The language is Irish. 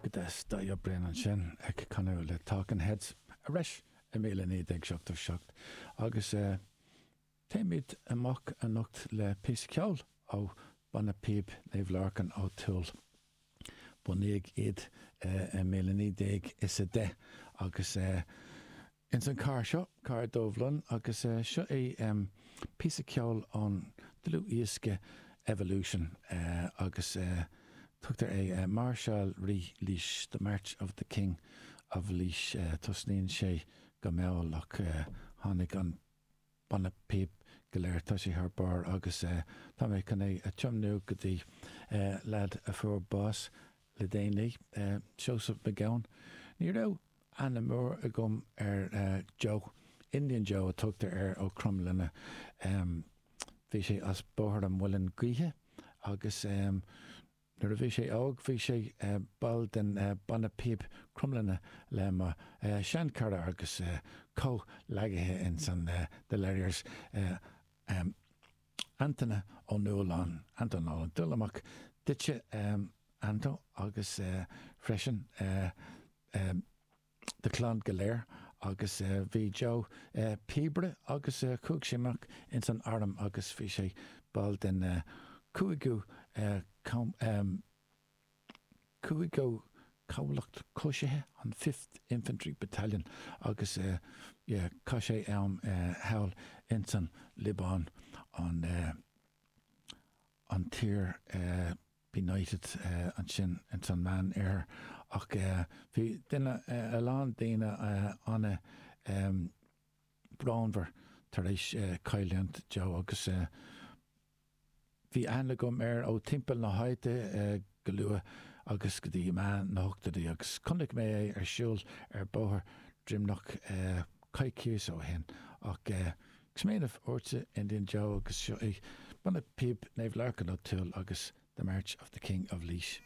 Go deas, Dáithí Ó Briain ansin ag canadh le Talking Heads arais i 1977 agus téimid amach anocht le píosa ceoil ó Banna Píob Naomh Lorcan ó Tuathail. Bunaíodh iad i 1910 agus ins an carr seo, Carr Dubh Lon, agus seo é píosa ceoil ón dlúthdhiosca Evolution agus tugtar é Máirseáil Rí Laois, The March of the King of Laois. Tosnaíonn sé go mall ach tháinig an banna píob go léir, tá sé thar barr agus tá mé chun é a tiomnú go dtí leaid a fuair bás le déanaí, Seosamh Mac Gabhann. Ní raibh aithne mór agam ar Joe, Indian Joe a tugtar air ó Cromghlinne. Bhí sé as Bóthar an Mhuilinn Gaoithe agus nuair a bhí sé óg bhí sé ball den banna píob Cromghlinne le mo sheanchara agus comhghleacaithe ins an The Lerriers, Antaine Ó Nualláin, Anto Nolan. Dul amach duitse Anto agus freisin do chlann go léir agus bhí Joe píobaire agus chuaigh sé amach ins an arm agus bhí sé ball den cúigiú cúigiú Cabhlach Coisithe, an Fifth Infantry Battalion agus yeah chaith sé am thall ins an Liobáin an an tír benighted ansin ins an Meán Oirthear ach bhí duine a lán daoine ana brónmhar tar éis cailliúint Joe agus Bhí aithne agam air ó timpeall na háite go luath agus go dtí meán na hochtóidí agus chonaic mé é ar siúl ar bóthar Droimneach coicíos ó shin. Ach smaoineamh ortsa Indian Joe agus seo é Banna Píob Naomh Lorcan Ó Tuathail agus The March of the King of Laois.